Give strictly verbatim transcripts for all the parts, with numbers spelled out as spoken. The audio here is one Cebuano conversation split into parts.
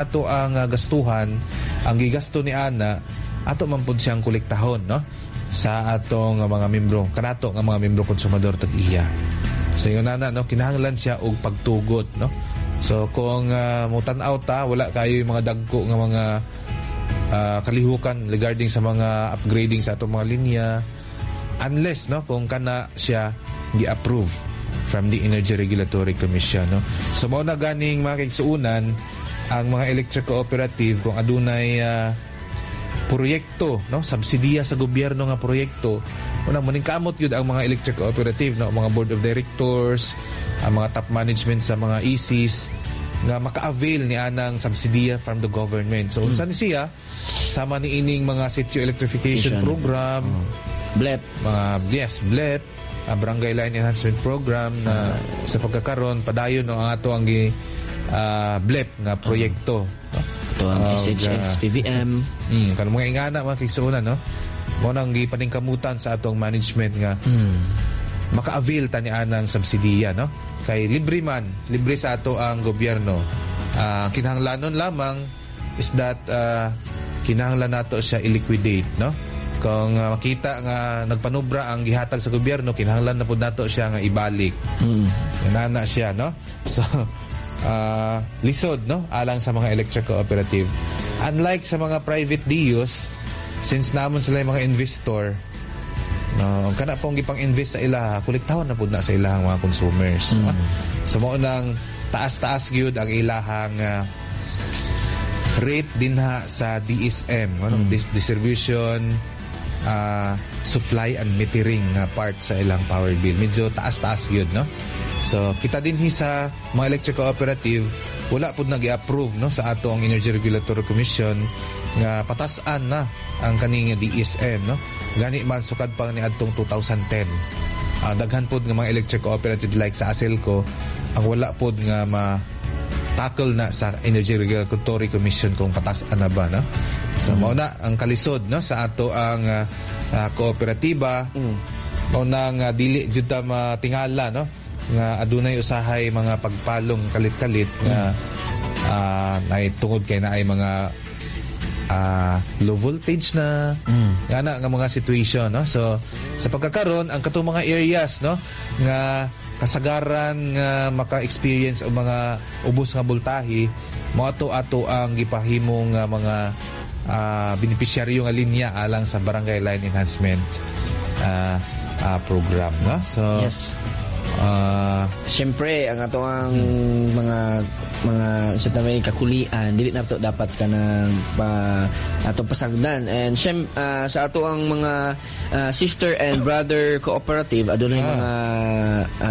Ato ang uh, gastuhan, ang gigasto ni ana, ato man pud siyang kolektahon, no, sa atong mga membro, kanato nga mga membro konsumador tag iya. So ingon ana, no, kinahanglan siya og pagtugot, no. So kung uh, mutan-aw ta, wala kayo yung mga dagko nga mga uh, kalihukan regarding sa mga upgrading sa atong mga linya, unless, no, kung kana siya gi-approve from the Energy Regulatory Commission, no. So mao na ganing, mga kaigsuonan, ang mga electric cooperative, kung adunay uh, proyekto, no, subsidiya sa gobyerno nga proyekto, unang maningkamot gyud ang mga electric cooperative, no, mga board of directors, ang mga top management sa mga E Cs nga maka-avail ni anang subsidiya from the government. So unsa ni siya, sama ni ining mga sitio electrification program, oh. B L E P. Mga, yes, B L E P, uh, Barangay Line Enhancement Program na uh, sa pagkakaron padayon, no, ang ato ang gi uh, B L E P nga proyekto, no? Ito ang uh, S H S, P V M. Mm, kanang mga ingana, mga kaigsuonan, no? Mao nang gipaningkamutan sa atong management nga mm. maka-avail ta ni anang subsidiya, no? Kay libre man, libre sa ato ang gobyerno. Uh, kinahanglanon lamang is that uh, kinahanglan nato siya i-liquidate, no? Kung uh, makita nga nagpanubra ang gihatag sa gobyerno, kinahanglan na pud nato siya nga ibalik. Mm. Nana siya, no? So uh, lisod, no, alang sa mga electric cooperative. Unlike sa mga private D Os, since namon sila yung mga investor, no, kana pong gipang-invest sa ilaha, kolektahon na pud na sa ilahang mga consumers, mm. no? So mao nang taas-taas gyud ang ilahang uh, rate dinha sa D S M, ano, mm. distribution, uh, supply and metering nga part sa ilang power bill. Medyo taas-taas gyud, no? So kita din sa mga electric cooperative, wala pud nag-approve, no, sa ato ang Energy Regulatory Commission nga patas-an na ang kaning D S M, no. Gani man sukad pa ni adtong twenty ten, uh, daghan pud nga mga electric cooperative like sa ASELCO ang wala pud nga ma tackle na sa Energy Regulatory Commission kung patas-an na ba, no. So mao na ang kalisod, no, sa ato ang uh, uh, kooperatiba. Mm. Mao na nga dili jud ta matingala, no, nga adunay usahay mga pagpalong kalit-kalit nga uh, ay tungod kay naay mga uh, low voltage na Mm. nga na nga mga situation, no. So sa pagkakaron, ang katong mga areas, no, nga kasagaran nga maka-experience og mga ubos nga voltahe, mao ato ato ang gipahimong nga mga uh, benepisyaryo nga linya alang sa Barangay Line Enhancement uh, uh, Program, no. So Yes. uh, Siyempre, ang ato ang mga mga sa may kakulian, dili na to dapat kanang pa atong pasagdan. And syem, ah, sa ato ang mga ah, sister and brother cooperative, adunay Ah. mga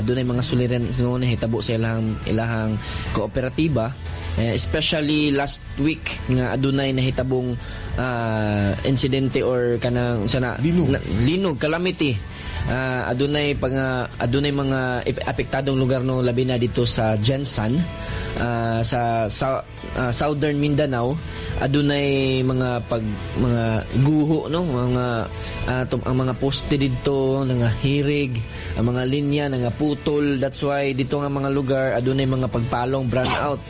adunay mga suliran no nahitabo sa ilahang ilahang kooperatiba. Eh, especially last week nga adunay nahitabong ah, insidente or kanang sana Linog. na, linog, calamity. Ah, adunay pang adunay mga ep- apektadong lugar, no, labi na dito sa GenSan, ah, sa, sa ah, Southern Mindanao. Adunay mga pag mga guho, no, mga ah, tum- ang mga poste didto nangahirig, ang mga linya nangaputol. That's why dito nga mga lugar adunay mga pagpalong, brown out.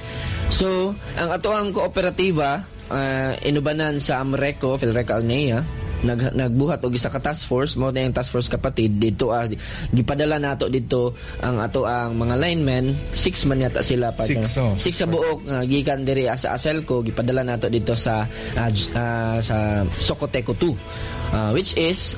So ang ato ang kooperatiba, ah, inubanan sa Amreco, Philreco Agnea, nag nagbuhat og isa ka task force. Mao na yung task force kapatid dito. ah, gipadala nato dito ang ato ang mga linemen, six man yata sila pa. Six, oh. Six sa buok nga gikan diri sa Aselco, gipadala nato dito sa ah, j- ah, sa Socoteco two, Ah, which is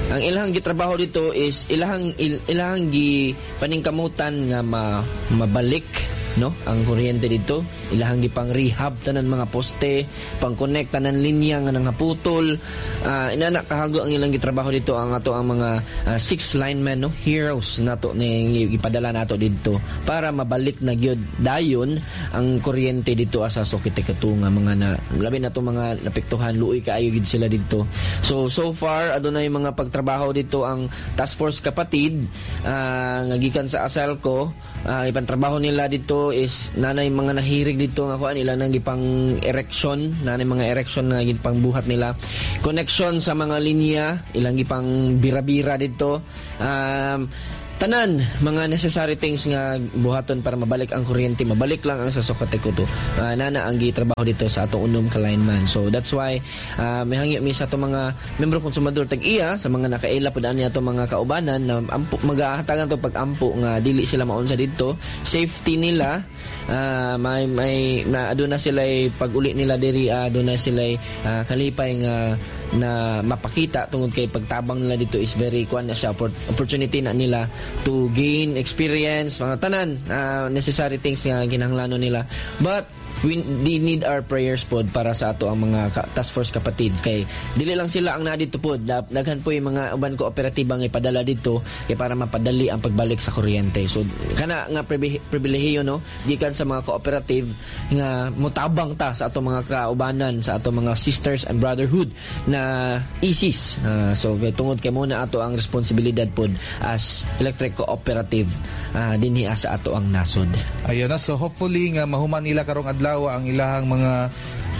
ang ilahang gitrabaho dito is ilahang il, ilahang gi paningkamutan nga ma, mabalik, no, ang kuryente dito. Ilahang gipang rehab tanan mga poste, pang connect tanan linya nga nangaputol. uh, inana kahago ang ilang gitrabaho dito, ang ato ang mga ah, six linemen, no, heroes nato ni gipadala nato didto para mabalik na gyud dayon ang kuryente dito sa Socoteco two nga mga na labi na to mga napektuhan. Luoy kaayo gid sila didto. So so far adunay mga pagtrabaho dito ang task force kapatid ah, nga gikan sa Aselco. uh, ipantrabaho nila dito is nanay mga nahirig dito nga kuan, ila nang gipang erection, nanay mga erection nga gipang buhat nila, connection sa mga linya, ilang gipang bira-bira dito. um, Tanan mga necessary things nga buhaton para mabalik ang kuryente, mabalik lang ang sa Socoteco two. Uh, nana ang gitrabaho dito sa atong unom ka lineman. So that's why uh, mihangyo mi sa atong mga membro konsumador tag-iya, sa mga nakaila pud ani atong mga kaubanan na ampo, magahatagan to pag-ampo nga dili sila maunsa didto. Safety nila, uh, may may na aduna sila pag-uli nila diri, uh, aduna sila uh, kalipay nga na mapakita tungod kay pagtabang nila dito is very kuan na siya, opportunity na nila to gain experience, mga tanan uh, necessary things nga kinahanglanon nila. But we they need our prayers pod para sa ato ang mga ka, task force kapatid, kay dili lang sila ang naa dito pod, daghan po yung mga uban kooperatiba nga ipadala dito kay para mapadali ang pagbalik sa kuryente. So kana nga pribilehiyo, no, gikan sa mga cooperative nga motabang ta sa ato mga kaubanan, sa ato mga sisters and brotherhood na I S I S. Uh, so kay tungod kay mo na ato ang responsibilidad pod as electric cooperative uh, dinhi sa ato ang nasod. Ayun na. So hopefully nga mahuman nila karong adlaw ang ilahang mga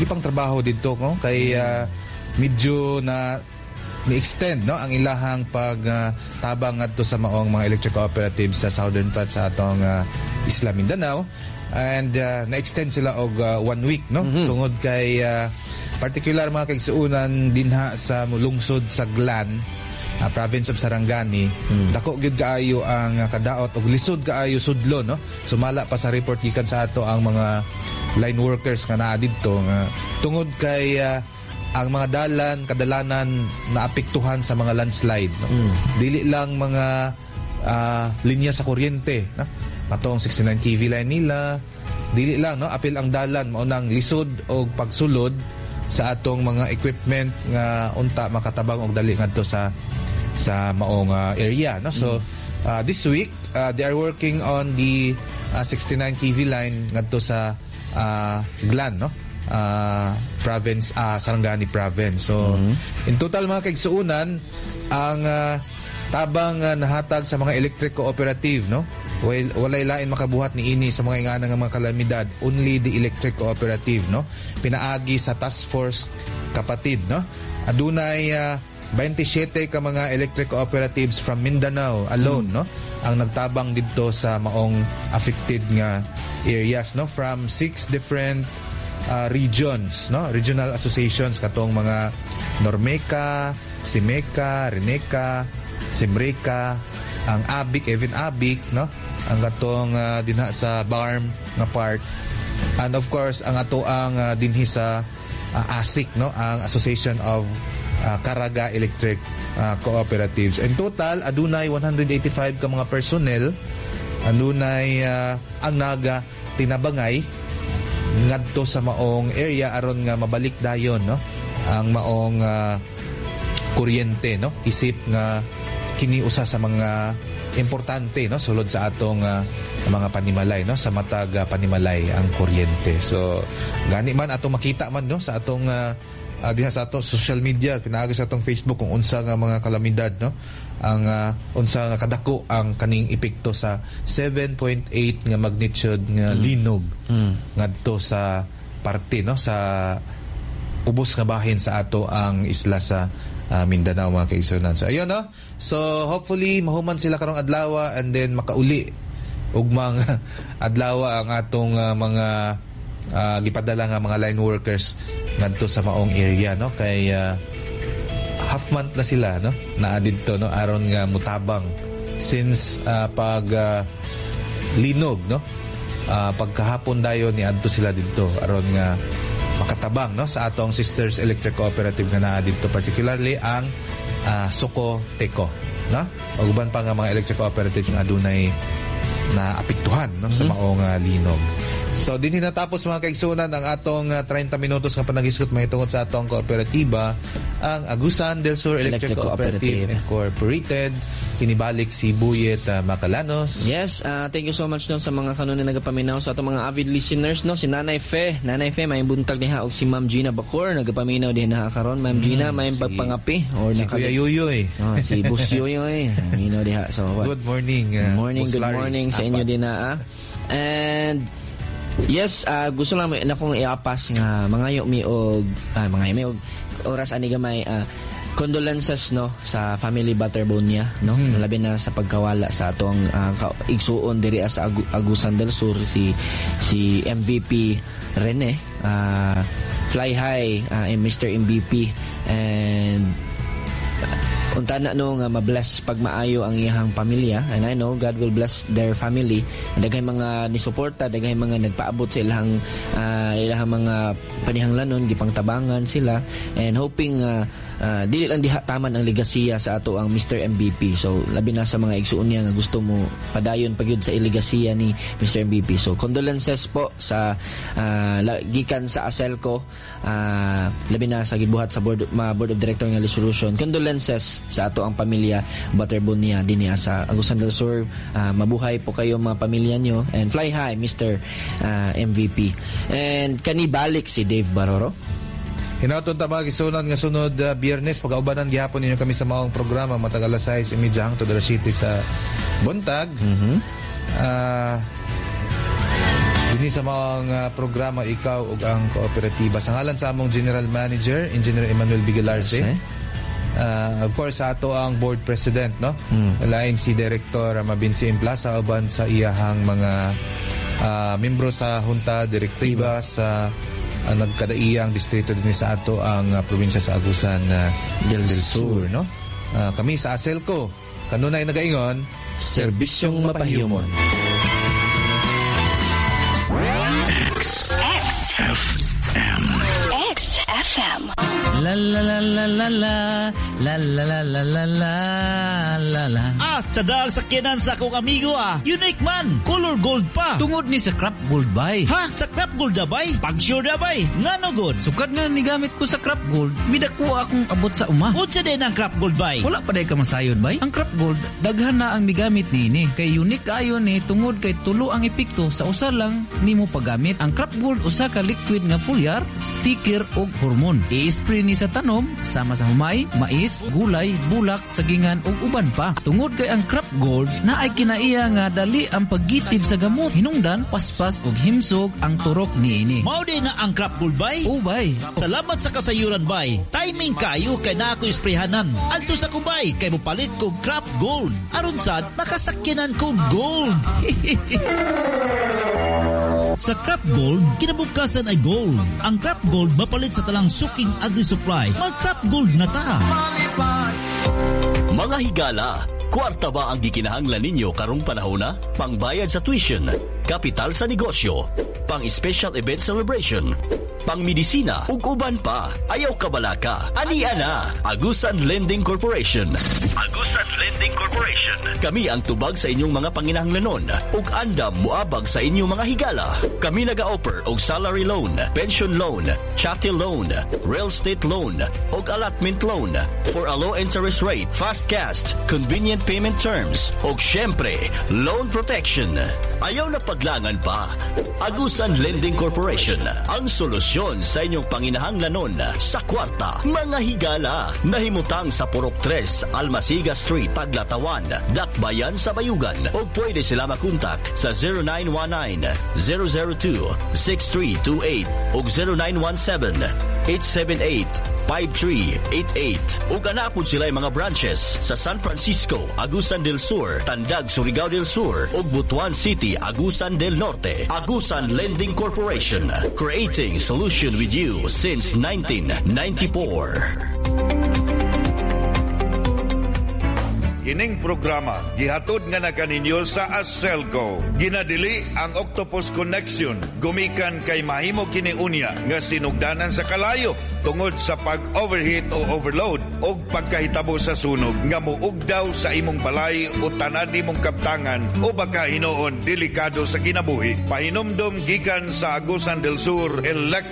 ipang trabaho didto, no, kay uh, medyo na ni-extend, no, ang ilahang pag uh, tabang ngadto sa maong mga electric cooperatives sa southern part sa atong uh, Isla Mindanao and uh, na-extend sila og uh, one week, no, mm -hmm. tungod kay uh, particular, mga kaigsuonan, dinha sa lungsod sa Glan, uh, province of Sarangani, mm. dako gyud kaayo ang uh, kadaot og lisod kaayo sudlo, no, sumala pa sa report gikan sa ato ang mga line workers nga naa didto nga tungod kay uh, ang mga dalan kadalanan naapektuhan sa mga landslide, no? Mm. Dili lang mga uh, linya sa kuryente, no? Katong sixty-nine K V line nila, dili lang, no, apil ang dalan, mao nang lisod og pagsulod sa atong mga equipment nga unta makatabang og dali ngadto sa sa maong uh, area, no. So uh, this week uh, they are working on the uh, sixty-nine K V line ngadto sa uh, Glan, no, uh, province, uh, Sarangani province. So mm-hmm. in total, mga kaigsuonan, ang uh, tabang uh, nahatag sa mga electric cooperative, no, well, walay lain makabuhat ni ini sa mga ingana nga mga kalamidad, only the electric cooperative, no, pinaagi sa task force kapatid, no. Adunay uh, twenty-seven ka mga electric cooperatives from Mindanao alone, mm. no, ang nagtabang didto sa maong affected nga areas, no, from six different uh, regions, no, regional associations, katong mga Normeca, Simeca, Reneca, Simreca, ang Abic, even Abic, no, ang katong uh, dinha sa B A R M nga part and of course ang ato ang uh, dinhi sa uh, ASIC, no, ang Association of uh, Caraga Electric uh, Cooperatives. In total, adunay one hundred eighty-five ka mga personnel adunay uh, ang naga tinabangay ngadto sa maong area aron nga mabalik dayon, no, ang maong uh, kuryente, no, isip nga kini usa sa mga importante, no, sulod sa atong uh, mga panimalay, no, sa matag uh, panimalay ang kuryente. So gani man atong makita man, no, sa atong uh, uh, diha sa atong social media, pinaagi sa atong Facebook, kung unsa nga mga kalamidad, no, ang uh, unsa nga kadako ang kaning epekto sa seven point eight nga magnitude nga mm. linog mm. ngadto sa parte, no, sa ubos nga bahin sa ato ang isla sa uh, Mindanao, mga kaigsuonan. So ayun, no. So hopefully mahuman sila karong adlaw and then makauli ugmang adlaw ang atong uh, mga uh, gipadala nga mga line workers ngadto sa maong area, no, kay uh, half month na sila, no, naa didto, no, aron nga mutabang since uh, pag uh, linog, no, uh, pagkahapon dayon ni adto sila didto aron nga makatabang, no, sa atong Sisters Electric Cooperative nga naa didto, particularly ang uh, Soko Teco, no, ug uban pa nga mga electric cooperative nga adunay na apektuhan, no, mm -hmm. sa maong uh, linog. So dinhi natapos, mga kaigsuonan, ang atong uh, thirty minutos nga panaghisgot mahitungod sa atong kooperatiba, ang Agusan del Sur Electric, Electric Cooperative, Cooperative Incorporated. Kinibalik si Buyet uh, Macalanos. Yes, uh, thank you so much, no, sa mga kanunay nagapaminaw, sa atong mga avid listeners, no, si Nanay Fe, Nanay Fe, may buntag diha, og si Ma'am Gina Bacor nagapaminaw din na karon. Ma'am Gina, mm, may si, pagpangapi or si Kuya Yuyoy. Oh, si Boss Yuyoy. Minaw diha. So good morning. Uh, good morning, good morning sa inyo din na. Ah. And yes, uh, gusto lang na kong iapas nga mangayo mi og uh, mangayo mi og oras ani gamay, uh, condolences no sa family Butterbone niya no Hmm. labi na sa pagkawala sa atong uh, igsuon diri sa Agu- Agusan del Sur si si MVP Rene uh, fly high uh, Mr. MVP and unta na no nga mabless pag maayo ang iyang pamilya and I know God will bless their family daghay mga nisuporta daghay mga nagpaabot sa ilang uh, ilang mga panihanglanon gipangtabangan sila and hoping uh, uh, dili lang diha taman ang legasiya sa ato ang Mr. MVP so labi na sa mga igsuon niya nga gusto mo padayon pagyud sa ilegasiya ni Mr. MVP so condolences po sa uh, gikan sa ASELCO uh, labi na sa gibuhat sa board mga board of director nga resolution condolences sa ato ang pamilya Butterbone niya dinhi sa Agusan del Sur uh, mabuhay po kayo mga pamilya nyo and fly high Mr. uh, MVP and kani balik si Dave Baroro Hinaton ta mga igsuonan nga sunod uh, Biyernes pagaubanan gihapon ninyo kami sa maong programa matag alas sais imedya hangtod alas siyete sa buntag. mm-hmm. Ah Dinhi sa maong uh, programa ikaw ug ang kooperatiba. Sa ngalan sa among General Manager, Engineer Emmanuel Bigalarse. Uh, of course sa ato ang board president no Mm. lain si Director Mabinsi Plaza uban sa iyahang mga uh, membro sa junta direktiba sa uh, nagkadaiyang distrito dinhi sa ato ang uh, probinsya sa Agusan uh, Del del Sur no Uh, kami sa ASELCO kanunay nagaingon Serbisyong mapahiyumon X F M X FM. La la la la la la la la la la la la la la Ah, tsadal sakyanan sa akong amigo ah. Unique man, color gold pa. Tungod ni sa crop gold bay. Ha? Sa crop gold na bay? Pag-sure na bay? Ngano god? Sukad nga nigamit ko sa crop gold, midako akong abot sa uma. Unsa din ang crop gold bay? Wala pa day ka masayod bay. Ang crop gold, daghan na ang migamit niini. Kay unique ayo ni tungod kay tulo ang epekto sa usa lang nimo paggamit. Ang crop gold usa ka liquid nga foliar, sticker ug hormone. I-spray ni sa tanom sama sa humay, mais, gulay, bulak, sagingan ug uban pa. Tungod kay ang crop gold na ay kinaiya nga dali ang paggitib sa gamot. Hinungdan, paspas ug himsog ang turok niini. Mao din na ang crop gold bay? Ubay. Salamat sa kasayuran bay. Timing kayo kay na ako isprehanan. Adto sa kubay kay mopalit ko crop gold. Aron sad makasakyanan ko gold. Sa Crop Gold, kinabukasan ay gold. Ang Crop Gold mapalit sa talang suking agri-supply. Mag Crop Gold na ta. Mga higala, kwarta ba ang gikinahanglan ninyo karong panahona? Pangbayad sa tuition, kapital sa negosyo, pang special event celebration, pang medisina ug uban pa. Ayaw kabalaka. Ania na. Agusan Lending Corporation. Agusan Lending Corporation. Kami ang tubag sa inyong mga panginahanglanon ug andam muabag sa inyong mga higala. Kami naga-offer og salary loan, pension loan, chattel loan, real estate loan, ug allotment loan for a low interest rate, fast cash, convenient payment terms, ug syempre, loan protection. Ayaw na paglangan pa. Agusan Lending Corporation, ang solusyon sa inyong panginahanglanon sa kwarta, mga higala. Nahimutang sa Purok Tres, Almasiga Street, Taglatawan, Dakbayan sa Bayugan. O pwede sila makontak sa zero nine one nine, zero zero two, six three two eight o zero nine one seven, eight seven eight, five three eight eight. Ug anapod sila mga branches sa San Francisco, Agusan del Sur, Tandag, Surigao del Sur, ug Butuan City, Agusan del Norte. Agusan Lending Corporation, creating solution with you since nineteen ninety-four. Kining programa gihatod nga na kaninyo sa Aselco. Ginadili ang Octopus Connection gumikan kay mahimo kini unya nga sinugdanan sa kalayo tungod sa pag-overheat o overload o pagkahitabo sa sunog nga muugdaw sa imong balay o tanan nimong kaptangan o baka hinuon delikado sa kinabuhi. Pahinumdom gikan sa Agusan del Sur Electric